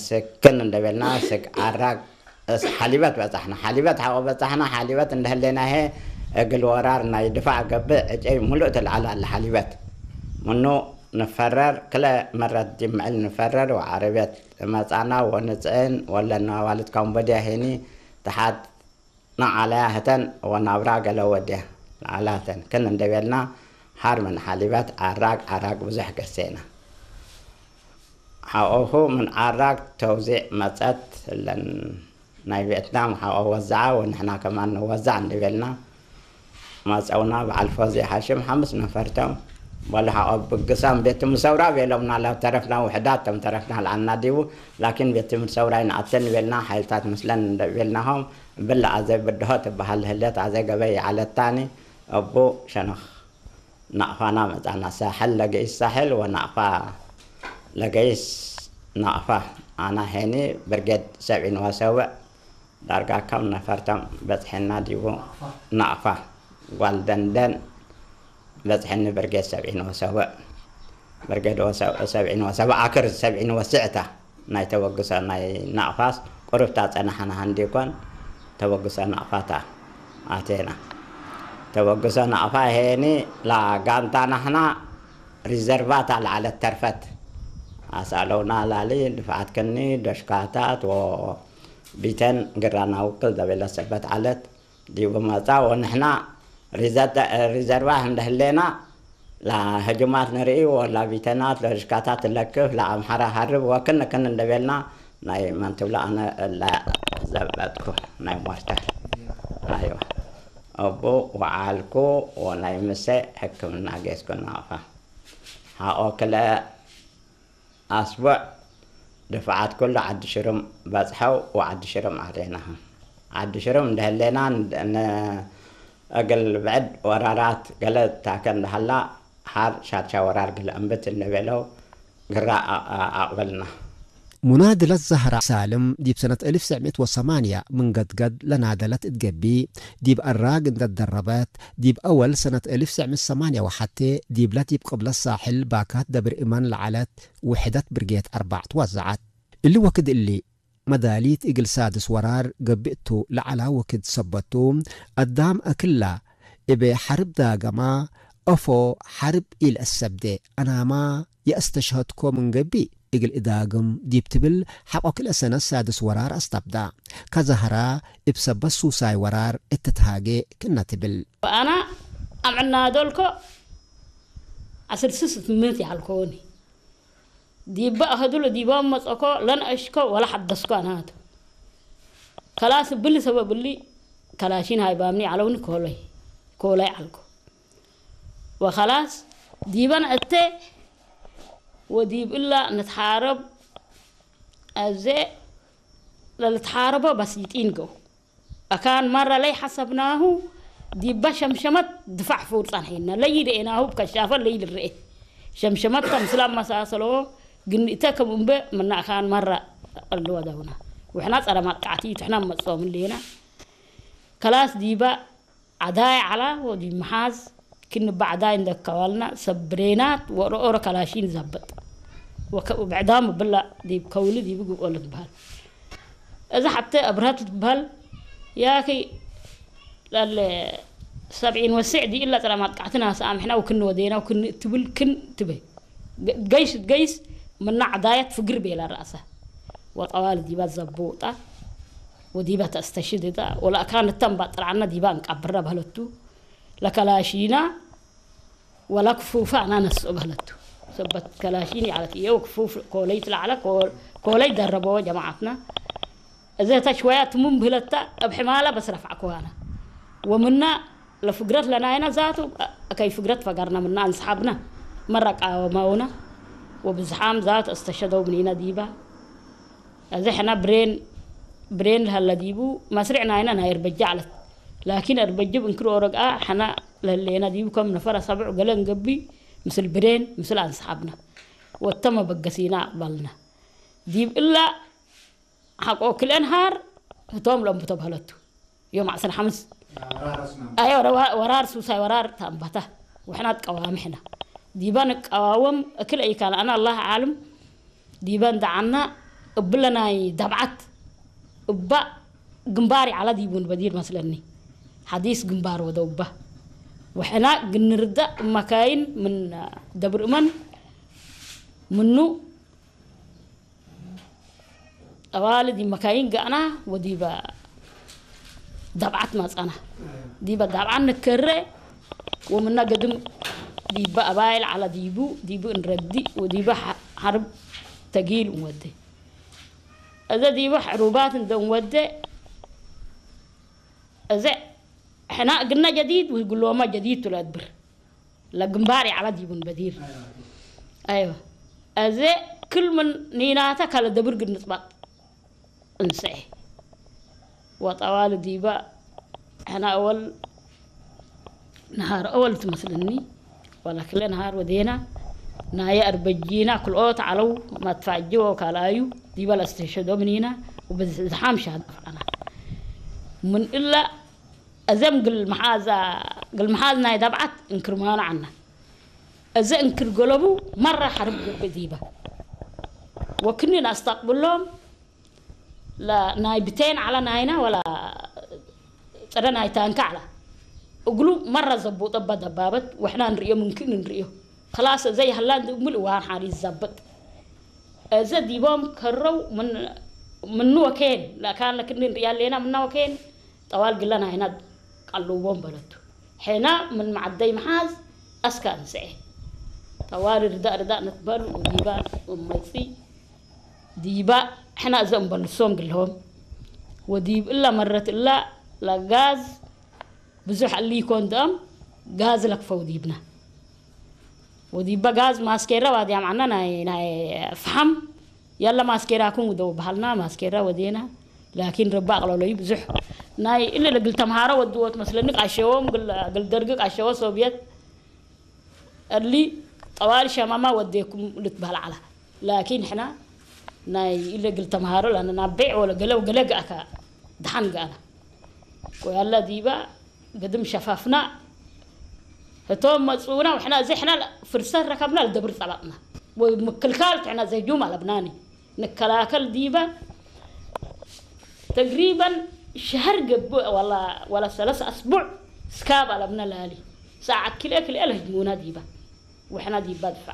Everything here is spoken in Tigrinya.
ስክን እንደበልና ስግ ዓራግ እስ ሓሊበት በጻሕና፣ ሓሊበት ሓቆ በጻሕና፣ ሓሊበት እንደህሌና፣ ሄ እግል ወራር ናይ ድፋዕ ገብእ ዕጨይ ሙሉእ ትልዓል ኣለ ሓሊበት። ምኑ ንፈረር ክለ መረት ጅምዕል ንፈረር ወዓረብየት መጻና ወንጽእን ወለና ዋልት ካምቦድያ ሄኒ ተሓት ንዓለያ ህተን ወናብራ ገለ ወድያ ንዓላ ህተን ክን እንደበልና ሓር ምን ሓሊበት ዓራግ ዓራግ ብዙሕ ገሴና። ሓኦኹ ምን ዓራግ ተውዚዕ መጸት እለን ናይ ቪየትናም ሓኦ ወዛዓ ወንሕና ከማን ንወዛዕ እንደበልና ማጸውና በዓል ፎዚ ሓሽም ሓምስ ነፈርቶም በሉ ሓኦ ብግሳም ቤት ምሰውራ ቤሎምና ላብ ተረፍና ውሕዳት ተም ተረፍና ልዓልና ዲቡ ላኪን ቤት ምሰውራ ይንኣተን ቤልና ሓይልታት ምስለን እንደቤልናሆም ብላ ኣዘ ብድሆ ትበሃል ህለት ኣዘ ገበይ ይዓለታኒ እቡ ሸነኽ ናቕፋና መጻና ሳሕል ለገይስ ሳሕል ወናቕፋ ለገይስ ናቕፋ ኣና ሄኒ ብርጌድ ሰብዒን ወሰውዕ ዳርጋ ከም ነፈርቶም በጽሐና ዲቡ ናቕፋ ጓል ደንደን በጽሐኒ ብርጌድ ሰብዒን ወሰውዕ ብርጌድ ወሰ- ሰብዒን ወሰውዕ ኣክር ሰብዒን ወስዕታ ናይ ተበግሶ ናይ ናቕፋስ ቁርብታ ጸናሕና ሃንዲኮን ተበግሶ ናቕፋታ ኣቴና ተበግሶ ናቕፋ ሄኒ ላ ጋንታ ናሕና ሪዘርቫታ ለዓለት ተርፈት ኣሳለውና ላሊ ድፍዓት ክኒ ደሽካታት ወ ቢተን ግራና ውክል ዘቤለ ሰበት ዓለት ዲቡ መጻ ወንሕና ሪዘተ- ሪዘርቫ እንደህሌና ላ ህጅማት ንርኢ ወላ ቢተናት ለሽካታት ትለክፍ ለኣምሓራ ሃርብ ወክን ክን እንደቤልና ናይ መን ትብሎ ኣነ እላ ዘበጥኩ ናይ ሞርተር ኣይዋ እቡ ወዓልኩ ወናይ ምሰ ሕክምና ጌስኩ ናቕፋ ሓቆ ክለ ኣስቡዕ ድፍዓት ኩሉ ዓዲ ሽሩም በጽሐው ወዓዲ ሽሩም ኣሬና ዓዲ ሽሩም እንደህሌና ን- ን- እግል ብዕድ ወራራት ገለ ታከ እንደሃላ ሓር ሻድሻ ወራር ግለ እምብት እንደቤለው ግራ ኣ- ኣ- ኣቕበልና። ሙናድለት ዛህራ ሳልም ዲብ ሰነት እልፍ ሰዕሚት ወሰማንያ ምን ገድገድ ለናደለት እት ገቢ፣ ዲብ ኣራግ እንደ ደረበት፣ ዲብ ኣወል ሰነት እልፍ ሰዕሚት ሰማንያ ወሓቴ ዲብለ ዲብ ቅብለት ሳሕል ባካት ደብር እመን ለዐለት ውሕደት ብርጌት ኣርባዕ ትወዘዐት። እሊ ወክድ እሊ፣ መዳሊት እግል ሳድስ ወራር ገብእ ቱ ለዐላ ወክድ ሰበት ቱ፣ አዳም አክላ እበ ሐርብ ዳገማ፣ ኦፎ ሐርብ ኢልአሰብዴ፣ አናማ የአስተሽሀድኮ ምን ገብእ እግል እዳግም ዲብ ትብል ሐቆ ክልኤ ሰነት ሳድስ ወራር አስታብዳ። ከዛህራ እብ ሰበት ሱሳይ ወራር እትትሃጌ ክነ ትብል። አና አምዕናዶልኮ አስር ስስ ትምህት ያልኮኒ ዲበ አኸዱሎ ዲበ መጸኮ ለንአሽኮ ወላ ሐደስኮ አናቱ። ከላስ ብሊ ሰበብ እሊ ከላሺን ሃይባምኒ ዐለውኒ ኮለይ ኮለይ ዐልኮ። ወከላስ ዲበን እተ ወዲብ እላ ንትሓረብ አዜ ለልትሓረቦ በሲጢን ገው أكان مرة لي حسبناه ዲባ ሸምሸመት ድፋዕ ፍውር ጸንሐና ለይድ ኤናሁ ብከሻፈ ለይድ ርኤ ሸምሸመት ከምስላ መሳሰሎ ግንእተ ከም እምበ ምና أكان مرة ቀልወ ደውና ውሕና ጸረ ማጥቃዕቲ ትሕና መጾም ሌና ከላስ ዲባ ዓዳይ ዓላ ወዲ መሓዝ ክንባዕዳይ እንደከዋልና ሰብ ብሬናት ወረኦረ ከላሺን ዘበጥ ብዕዳም ብላ ዲብ ከውሊ ዲብ ግብኦለ ትበሃል። እዛ ሓብተ ኣብርሃት ትበሃል ያኺ ላለ ሰብዒን ወስዕ ዲእላ ጥራ ማጥቃዕትና ሰኣምሕና ወክን ወዴና ወክን ትብል ክን ትበ ገይስ ገይስ ምና ዓዳያት ፍግር ቤላ ራእሳ ወጠዋል ዲባ ዘቦጣ ወዲባ ተስተሽድዳ ወላ ካን ተንባ ጥራዓና ዲባ እንቃብራ ባህለቱ ለከላሺና ወላ ክፉፋ ኣና ነስኦ በህለቱ ሰበት ከላሺን ያለት እየው ክፉፍ ኮለይ ትላዕለ ኮለይ ደረበዎ ጀማዓትና እዘ ተሽወያ ትሙን ብህለታ እብ ሕማላ በስ ረፍዓኮ ኣና ወምና ለፍግረት ለናይና ዛቱ ከይ ፍግረት ፈገርና ምና አንስሓብና መራ ቃወማውና ወብዝሓም ዛቱ እስተሸደው ምኒና ዲባ እዚ ሕና ብሬን ብሬን ለሀለ ዲቡ መስርዕ ናይና ናይ እርበጃ ዓለት ላኪን እርበጅ ብእንክር ኦረግኣ ሕና ለህሌና ዲቡ ከም ነፈረ ሰብዕ ገለ እንገቢ ምስል ብሬን ምስል አንስሓብና ወተመ በገሲና ኣቕበልና ዲብ እላ ሓቆ ክልኤን ሃር ህቶም ለንብቶ በህለቱ ዮም ዓሰርተ ሓምስ አዮ ወራር ሱሳይ ወራር ታንባታ ወሕና ትቀዋሚ ሕና ዲባ ንቀዋወም እክል ኣይካን ኣና ኣላህ ዓልም ዲባ እንደዓና እብለ ናይ ዳብዓት እባ ግንባር ይዓላ ዲቡን በዲር መስለኒ ሓዲስ ግንባር ወደ እባ ወሕና ግንርዳእ መካይን ምን ደብር እመን ምኑ ጠዋል ዲ መካይን ጋዕና ወዲባ ዳብዓት ማጻና ዲባ ዳብዓን ንከረ ወምና ገድም ዲባ ኣባይል ዓላ ዲቡ ዲቡ እንረዲ ወዲባ ሓርብ ተጊል ወደ እዘ ዲባ ሕሩባት እንደን ወደ እዘ ሕና ግና ጀዲድ ወይ ጉሎማ ጀዲድ ትለድብር ለግንባር ይዓላ ዲቡን በዲር ኣይዋ እዘ ክል ምን ኒናታ ካለ ደብር ግንጽባጥ እንስኤ ወጠዋል ዲባ ሕና ኣወል ነሃር ኣወል ትመስልኒ ወላ ክለ ነሃር ወዴና ናየ ኣርበጂና ክልኦት ዓለው ማትፋጅ ወካልኣዩ ዲባ ለስተሸዶምኒና ወብዝሓም ሻድፋና ምን እላ እዘም ግል መሓዛ ግል መሓዝ ናይ ዳብዓት እንክርማኑ ዓና እዚ እንክር ገለቡ መራ ሓርብ ግብ ዲባ ወክኒ ላስታቅብሎም ናይ ብቴን ዓላ ናይና ወላ ጥረ ናይ ታንካ ዓላ እግሉ መራ ዘቡ ጠባ ደባበት ወሕና ንርእዮ ምንክን ንርእዮ ከላስ እዘ ይሃላ እንድምል እዋን ሓሪ ይዛበጥ እዘ ዲቦም ከረው ምኑ ወኬን ለካን ለክኒ ንርእያ ኣለና ምና ወኬን ጠዋል ግለ ናይና ቀልዎም በለቱ ሕና ምን መዓደይ መሓዝ ኣስካ እንስኤ ጠዋል ርዳእ ርዳእ ንትበል ወዲባ መጺ ዲባ ሕና እዘም በልሶም ግልሆም ወዲብ እላ መረት እላ ለጋዝ ብዙሕ እሊ ይኮን ደም ጋዝ ለክፈው ዲብና ወዲባ ጋዝ ማስኬራ ዋዲያም ዓና ናይ ናይ ፍሓም ያለ ማስኬራኩም ውደው በሃልና ማስኬራ ወዴና ላኪን ረባ ኣቕለሎዩ ብዙሕ ናይ እለ ለግል ተምሃሮ ወድዎ ትመስለኒ ቃሸዎም ግል ደርጊ ቃሸዎ ሶብየት እሊ ጠዋል ሸማማ ወዴኩም ልትበሃል ዓላ ላኪን ሕና ናይ እለ ግል ተምሃሮ ላነ ናብ ቤዕ ወለ ገለ ገለ ገኣካ ድሓን ገኣና ወያላ ዲባ ግድም ሸፋፍና እቶም መጽኡና ወሕና እዚ ሕና ፍርሰት ረከብና ልደብር ጸባጥና ወይ ምክልካል ትሕና ዘህጁም ኣለብናኒ ንከላከል ዲባ ተግሪበን ሸህር ገብእ ወላ ወላ ሰለስ ኣስቡዕ ስካብ ኣለብና ላሊ ሰዓት ክልኤ ክልኤ ለህጅሙና ዲባ ወሕና ዲባ ድፋ